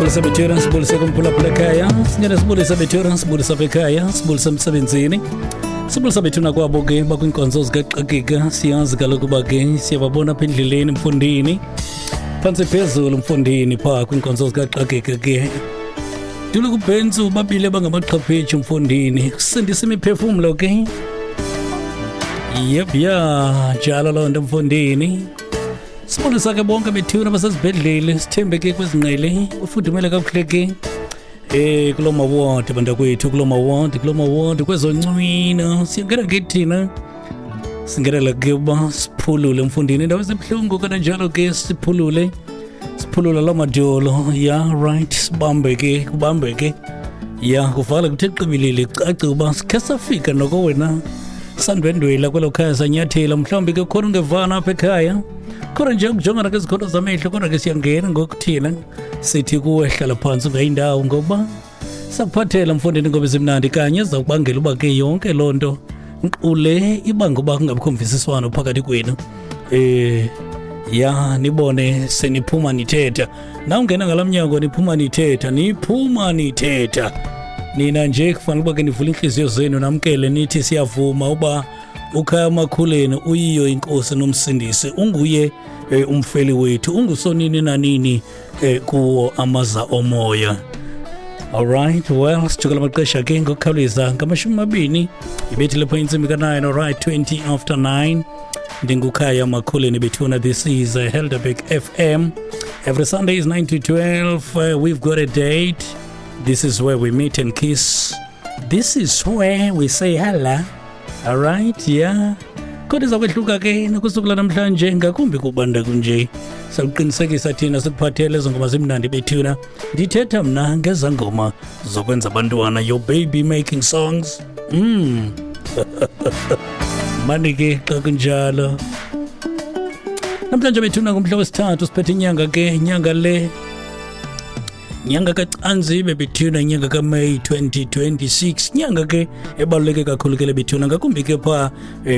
Sibulise bethuna, sibulise kumphulaphula ekhaya. Sinyane sibulise bethuna, sibulise apha ekhaya, sibulise emsebenzini. Sibulisa bethuna kwabo ke bakwiinkonzo zikaxakeka. Siyazi kaloku uba ke siyababona apha endleleni mfundini. Phantsi phezulu mfundini phaa kwiinkonzo zikaxakeka ke. Dulu kubhentsu babile bangamaxhaphetshi mfundini. Kusindisa imiphefumlo ke. Yep, ya njalo loo nto mfundini. Sibulisa ke bonke bethuna basezibhedlele, sithembe ke kwezinqele, ufudumele kakuhle ke. Kuloo mawadi bantakwethu, kuloo mawadi, kuloo mawadi kwezoncwina. Siyangena ke thina. Singenela ke uba siphulule mfundini indawo ezibuhlungu kananjalo ke siphulule. Siphulula loo madyolo. Ya right, sibambe ke, kubambe ke. Ya kuvala kuthe qibilili kucace uba sikhe safika noko wena. Sandwendwela kwelo khaya sanyathela, mhlawumbi ke khona ungevana apha ekhaya. Khona nje ukujongana kwezikhondo zamehlo, kodwa ke siyangena ngoku thina. Sithi kuwe hlala phantsi ungayindawo ngoba sakuphathela mfondini ngoba ezimnandi kanye zizawukubangela uba ke yonke loo nto nkqule ibanga uba kungabikho mvisiswano phakathi kwenu. Ya nibone seniphuma nithetha. Nawungena ngalaa mnyango niphuma nithetha, niphuma nithetha. Nina nje kufanele uba ke nivule iintliziyo zenu namkele nithi siyavuma uba ukhaya Makhuleni uyiyo inkosi nomsindisi, unguye umfeli wethu, ungusonini nanini kuwo amaza omoya. All right, well, sijukela amaxesha ke ngokukhawuleza ngamashumi mabini ibethile pho intsimbi ka-9. All right, 20 after 9. Ndingukhaya Makhuleni bethuna. This is Helderberg FM. Every Sunday is 9 to 12. We've got a date. This is where we meet and kiss. This is where we say hello. All right, yeah. Kodwa iza kwehluka ke nokusuku lanamhlanje, ngakumbi kubanda kunje. Sakuqinisekisa thina sikuphathele ezo ngoma zimnandi bethuna. Ndithetha mna ngeza ngoma zokwenza abantwana, your baby making songs. Mani ke xa kunjalo. Namhlanje bethuna ngumhla wesithathu, siphethe inyanga ke, inyanga le nyanga kaCanzibe bethuna, inyanga kaMeyi 2026, nyanga ke ebaluleke kakhulu ke le bethuna, ngakumbi ke phaa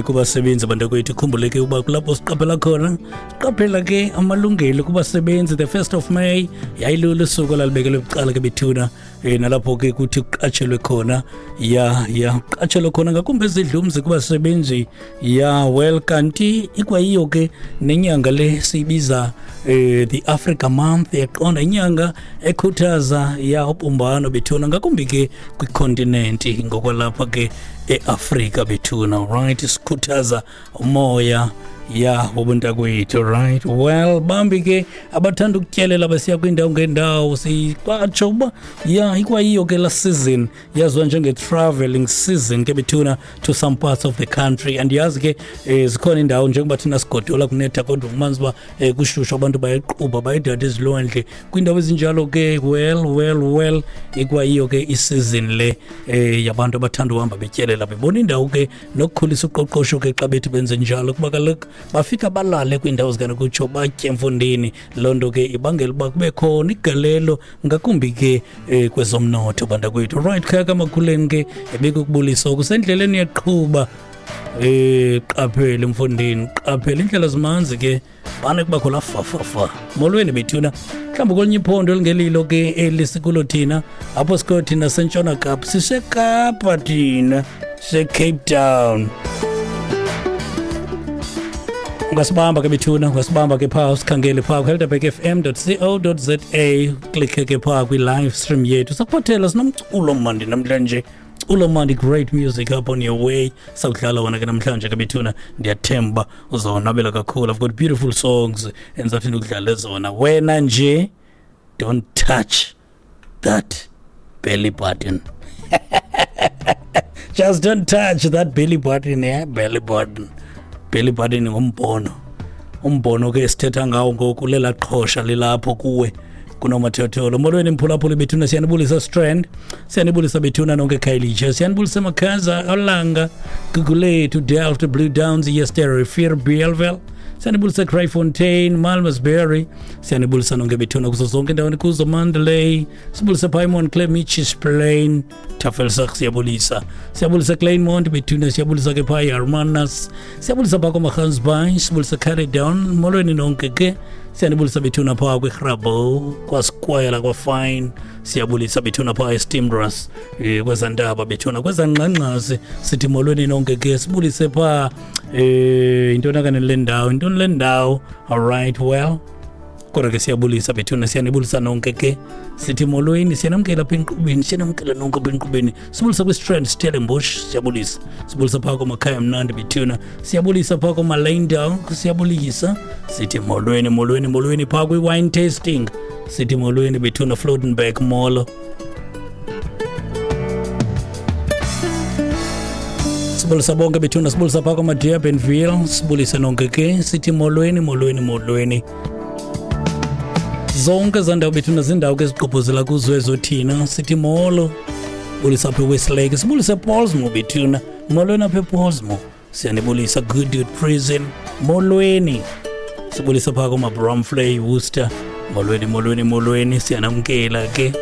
kubasebenzi abantakwethu. Khumbule ke uba kulapho siqaphela khona, siqaphela ke amalungelo kubasebenzi. The 1st of May yayilulo usuku olalibekelwe bucala ke bethuna, nalapho ke kuthi kuqatshelwe khona, ya kuqatshelwe khona ngakumbi ezidlumzi kubasebenzi. Ya well, kanti ikwayiyo ke nenyanga le siyibiza the Africa Month, yaqonda, inyanga ekhuthaza ya ubumbano bethuna, ngakumbi ke kwikontinenti ngokwalapha ke eAfrika bethuna. Right, sikhuthaza umoya ya wobuntakwethu. Right, well, bambi ke abathanda ukutyelela besiya kwiindawo ngeendawo, sikwatsho uba ya ikwayiyo ke la season yaziwa njenge-traveling season ke bethuna to some parts of the country. And yazi ke zikhona indawo njengoba thina sigodola kunetha, kodwa ufumanisa uba kushushu, abantu bayequbha bayedada ezilwandle kwiindawo ezinjalo ke. Well, well, well, ikwayiyo ke isizini le yabantu abathanda uhamba betyelela bebona indawo ke nokukhulisa uqoqosho ke xa bethi benze njalo, kuba kaloku bafika balale kwiindawo zikanokutsho, batye mfundini. Loo nto ke ibangela uba kube khona igalelo ngakumbi ke kwezomnotho bantakwethu. Right, khaya kaMakhuleni ke ebekukubulisa okusendleleni yaqhuba. Qaphele mfundini, qaphele, indlela zimanzi ke, bane kubakho la fafafa. Molweni bethuna, mhlawumbi kwelinye iphondo elingelilo ke eli sikulo thina, apho sikho thina sentshona Kapa, siseKapa thina, siseCape Town. Ungasibamba ke bethuna, ungasibamba ke phaa, usikhangele phaa kuhelderbergfm.co.za, klikhe ke phaa kwi-live stream yethu. Sakuphathela sinomculo mandi namhlanje, culo mandi, great music up on your way. Sawudlala wona ke namhlanje ke bethuna, ndiyathemba uzawonwabela kakhulu. I've got beautiful songs endizathi ndikudlale zona. Wena nje don't touch that belly button. Just don't touch that belly button. Yeah, belly button, belly button ngumbono, umbono ke sithetha ngawo ngoku lela qhosha lilapho kuwe kunomathotholo. Molweni mphulaphuli bethuna, siyanibulisa Strand, siyanibulisa bethuna nonke Khayelitsha, siyanibulisa Makhaza, Olanga, Gugulethu, Delft, Blue Downs, Yester, Rivier, Bellville, siyanibulisa Kraaifontein, Malmesbury, siyanibulisa nonke bethuna kuzo zonke indawo kuzo, Mandalay, sibulisa phaa eMontclair, Mitchells Plain, Tafelsak, siyabulisa, siyabulisa Kleinmond bethuna, siyabulisa ke phaa Hermanus, siyabulisa phaa kwaMaGansbaai, sibulisa Caledon. Molweni nonke ke. Siyanibulisa bethuna phaa kwiRabo, kwaSquare, kwaFine. Siyabulisa bethuna phaa eSteamras, kwezaa ntaba bethuna, kwezaa ngxangxasi. Sithi molweni nonke ke. Sibulise phaa yintoni kanene le ndawo, yintoni le ndawo? All right, well, kodwa ke siyabulisa bethuna, siyanibulisa nonke ke. Sithi molweni, siyanamkela apha enkqubeni, siyanamkela nonke apha enkqubeni. Sibulisa kwiStrand, Stellenbosch, siyabulisa. Sibulisa phaa komakhaya mnandi bethuna, siyabulisa phaa komalayndal, siyabulisa. Sithi molweni, molweni, molweni phaa kwi-wine tasting. Sithi molweni bethuna, Flodenberg, molo. Sibulisa bonke bethuna, sibulisa phaa komaDurbanville, sibulise nonke ke. Sithi molweni, molweni, molweni. Zonke ezaa ndawo bethuna ziindawo ke ezigqobhozela kuzo ezo thina. Sithi molo. Bulisa apha eWestlake, sibulise ePolsmo bethuna, molweni apha ePolsmo. Siyanibulisa Goodwood Prison, molweni. Sibulisa phaa komaBromfley, Worcester, molweni, molweni, molweni. Siyanamkela ke.